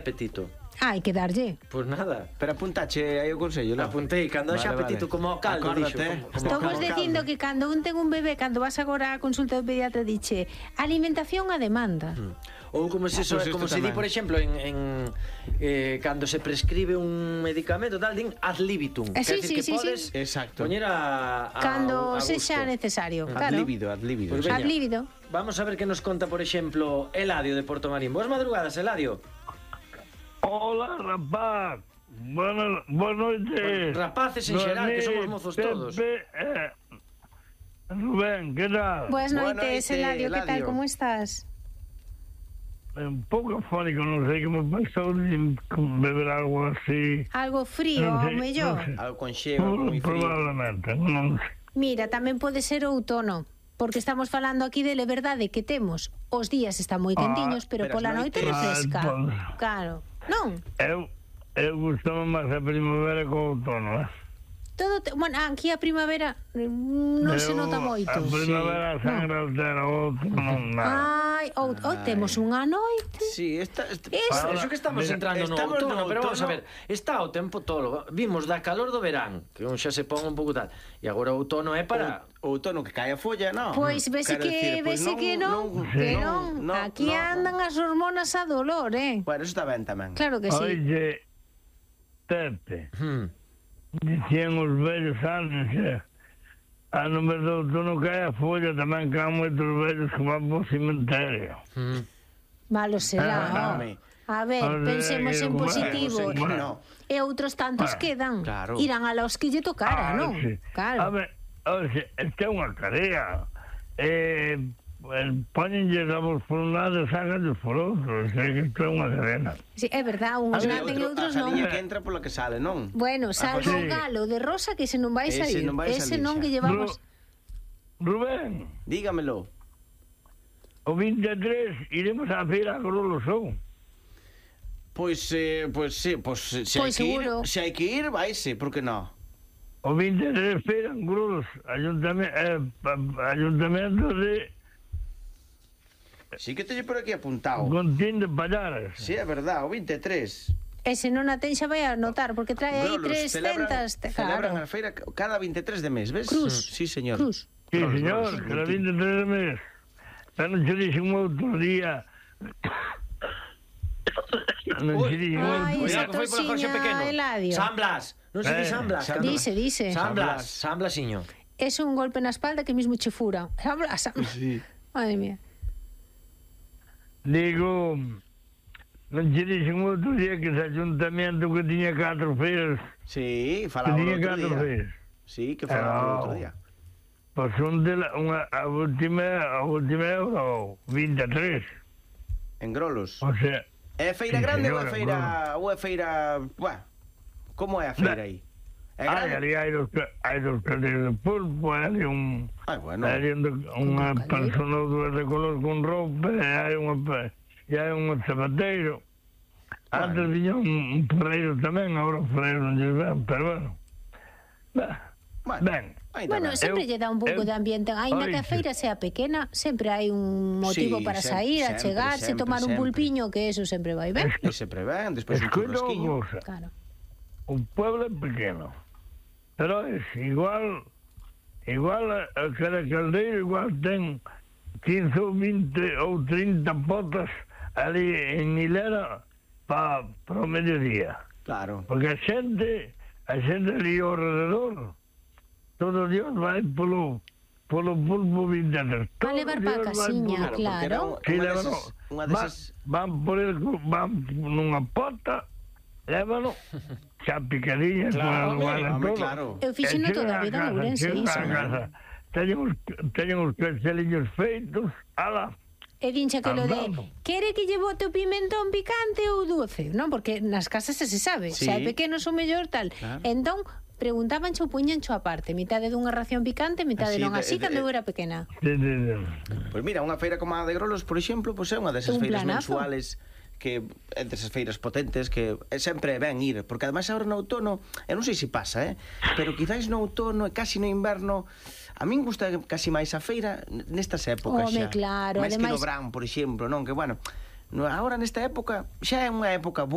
apetito. Hai que darlle. Pois nada. Pero apuntache aí o consello, non? Apuntei, cando haxa apetito como o caldo, dixo. Estamos dicindo que cando un ten un bebé, cando vas agora á consulta do pediatra, diche alimentación a demanda. Ou como se di, por exemplo, cando se prescribe un medicamento tal, din ad libitum. Sí, que podes poñer a cando sexa necesario. Ad libido. Pues ad libido. Vamos a ver que nos conta, por exemplo, Eladio de Portomarín. Boas madrugadas, Eladio. Hola, rapaz. Buenas noites. Rapaces en xeral, que somos mozos todos. Rubén, ¿qué tal? Buenas noites, Eladio, ¿qué tal? ¿Cómo estás? Un pouco afónico, non sei que me pasou de beber algo así. Algo frío, ao mellor. Algo con xeo, moi frío. Probablemente, non sei. Mira, tamén pode ser outono, porque estamos falando aquí de verdade que temos. Os días están moi quentiños, pero pola noite refresca. Claro. Non? Eu gustame máis a primavera que o outono, Bueno, aquí a primavera non se nota moito. A primavera sangra altera, o outono non nada. Temos unha noite. Sí, Eso que estamos entrando no outono, pero vamos a ver, está o tempo todo. Vimos da calor do verán, que un xa se pon un pouco tal, e agora o outono é para... O outono que cae a folla, non? Pois vese que non. Aquí andan as hormonas a dolor, Bueno, eso está ben tamén. Claro que sí. Oye, Pepe, dicían os vellos antes, a número do outono cae a folla, tamén caen moitos vellos que van po cemiterio. Malo será, A ver, pensemos en positivo. E outros tantos quedan. Irán a los que lle tocara, non? Claro. A ver, esta é unha carea. Póñenlle davos por un lado e sácanlles por outro. Isto é unha cadena. Sí, é verdad, uns nacen e outros non. A liña que entra pola que sale, non? Bueno, salvo o galo de rosa que se non vai sair. Ese non que llevamos... Rubén, dígamelo. O 23 iremos á feira a Grolosou. Pois se hai que ir, vaise, por que non? O 23 feira en Grulos, ayuntamento de... Sí que teño por aquí apuntado. Contín de Pallares. Sí, é verdad, o 23. Ese non a ten xa vai a notar, porque trae aí 300... Celebran a feira cada 23 de mes, ves? Cruz. Sí, señor. Cruz. Sí, señor, cada 23 de mes. Pero non se dixen outro día... esa tosiña, Eladio. San Blas, non se di San Blas. Dice. San Blasiño. Es un golpe na espalda que mismo che fura. San Blas. Madre mía. Digo, non che dixen outro día que ese ayuntamiento que tiña 4 feiras. Sí, falaba outro día. Sí, que falaba outro día. Pois son de a última é o 23. En Grolos. O sea... É feira grande ou é feira... Como é a feira aí? Ali hai dos carteles de pulpo, hai unha persona ou dúas de color con roupa, hai un zapateiro. Antes viña un ferreiro tamén, agora o ferreiro non lle ven, pero ben. Bueno, sempre lle dá un pouco de ambiente. Ainda que a feira sea pequena, sempre hai un motivo para sair, a chegarse, tomar un pulpiño, que eso sempre vai ben. Sempre ben, despois un churrasquiño. O pueblo é pequeno, pero é igual a cada caldeiro, igual ten 15 ou 20 ou 30 potas ali en hilera para o mediodía. Claro. Porque a xente ali ao rededor, todo Dios vai polo pulpo 23. A levar pa a casiña, claro. Van nunha pota, lévano, xa picadillas, claro. Eu fixeno toda a vida en Ourense, iso. Teñen os casteliños feitos, ala. E dincha que lo de, quere que lle bote o pimentón picante ou doce? Non, porque nas casas se sabe, se hai pequenos ou mellor tal. Entón, preguntaban ou puñancho aparte, mitade dunha ración picante, mitade non, así cando eu era pequena. Pois mira, unha feira como a de Grolos, por exemplo, é unha desas feiras mensuales que entre esas feiras potentes que sempre é ben ir, porque ademais agora no outono, eu non sei se pasa, pero quizás no outono e casi no inverno, a min gusta casi máis a feira nestas épocas xa. Claro, máis que no verán, por exemplo, non? Que bueno, agora nesta época xa é unha época boa.